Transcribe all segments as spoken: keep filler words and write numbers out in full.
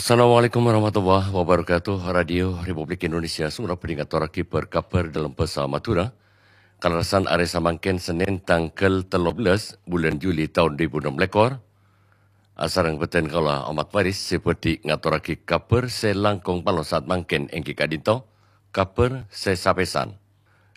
Assalamualaikum warahmatullahi wabarakatuh. Radio Republik Indonesia Songennep bhâdhi ngatorraghi bâr-kabhâr dâlem bhâsa Madhurâ. Kalerressan arè samangkèn Sennèn tangghâl tello bellas bulân Juli taon du èbu ennem lèkor. Asareng bhâdhân kaulâ Ahmad Faris sè bhâdhi ngatorraghi kabhâr sè langkong palossat mangkèn èngghi ka'dinto, kabhâr sè sapèsan.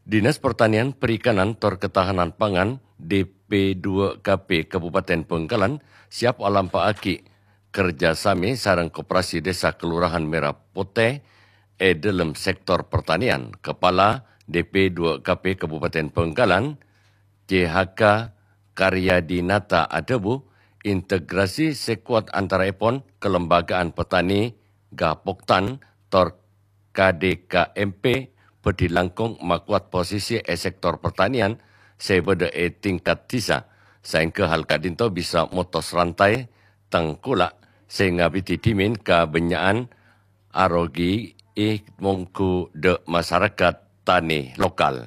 Dinas Pertanian, Perikanan, tor Ketahanan Pangan, D P dua K P Kabupaten Bangkalan siap alampa'aghi kerja sami sareng Koperasi Desa Kelurahan Merah Putih è dâlem sektor pertanian. Kepala D P dua K P Kabupaten Bangkalan, C H K Karyadinata adhâbu, integrasi sè kowat antaraèpon Kelembagaan Petani Gapoktan tor K D K M P bhâdhi langkong makowat posisi è sektor pertanian sè bâdâ è tingkat dhisa, saèngghâ hal ka'dinto bisa motos rantai tengkola' sè ngabidhi dhimèn kabânnya'an arogi è mongghu dâ' masarakat tanè lokal.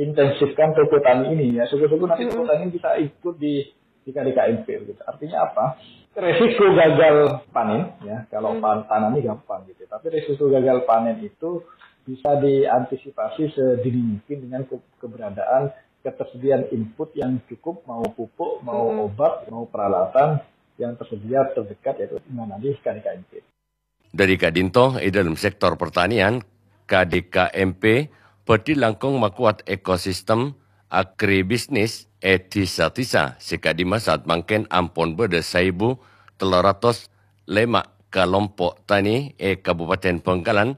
Intensifkan toko tani ini ya, syukur-syukur nanti toko tani bisa ikut di di K D K M P gitu. Artinya apa? Resiko gagal panen ya, kalau pan tanam ini gampang gitu. Tapi resiko gagal panen itu bisa diantisipasi sedini mungkin dengan ke- keberadaan ketersediaan input yang cukup, mau pupuk, mau obat, mau peralatan yang tersedia terdekat yaitu di mana di K D K M P. Dâri ka'dinto è dâlem sektor pertanian, K D K M P bhâdhi langkong makowat ekosistem agribisnis è dhisa-dhisa sè ka'dimma saat mangkèn ampon bâdâ saèbu tello ratos lèma' kalompo' tanè è Kabupaten Bangkalan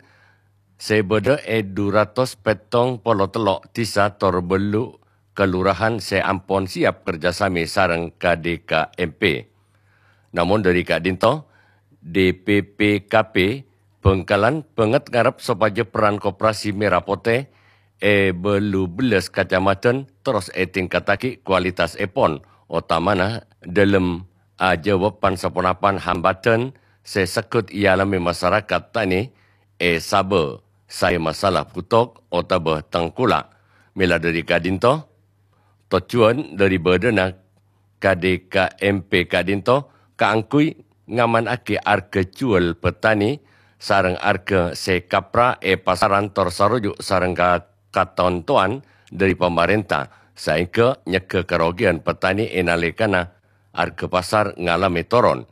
sè bâdâ è du ratos pèttong polo tello' dhisa tor bâllu' kalurahan sè ampon siap kerjasami sareng K D K M P. Namong dâri ka'dinto, D P P K P Bangkalan bângèt ngarep sopajâ peran Koperasi Merah Putih è bâllu bellas kacamadhân terros ètingkattaghi kualitasèpon, otamana dâlem ajâwâb pan-saponapan hambâdhân sè segghut èalamè masarakat tanè è sabâ saè masalah bhuthok otabâ tengkola'. Mèla dâri ka'dinto, tojjhuwân dâri bâdâna K D K M P ka'dinto kaangghuy ngamanaghi arghâ jhuwâl petani sareng arghâ sè kapra è pasaran tor saroju' sareng ka- katontowan dâri pamarènta, saèngghâ nyegghâ karogiyân petani è nalèkana arghâ pasar ngalamè toron.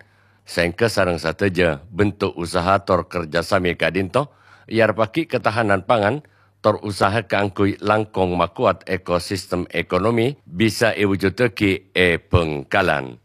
Saèngghâ sareng sadhâjâ bentuk usaha tor kerjasami ka'dinto èarebbhâghi ketahanan pangan tor usaha kaangghuy langkong makowat ekosistem ekonomi bisa èwujuddhâghi è Bangkalan.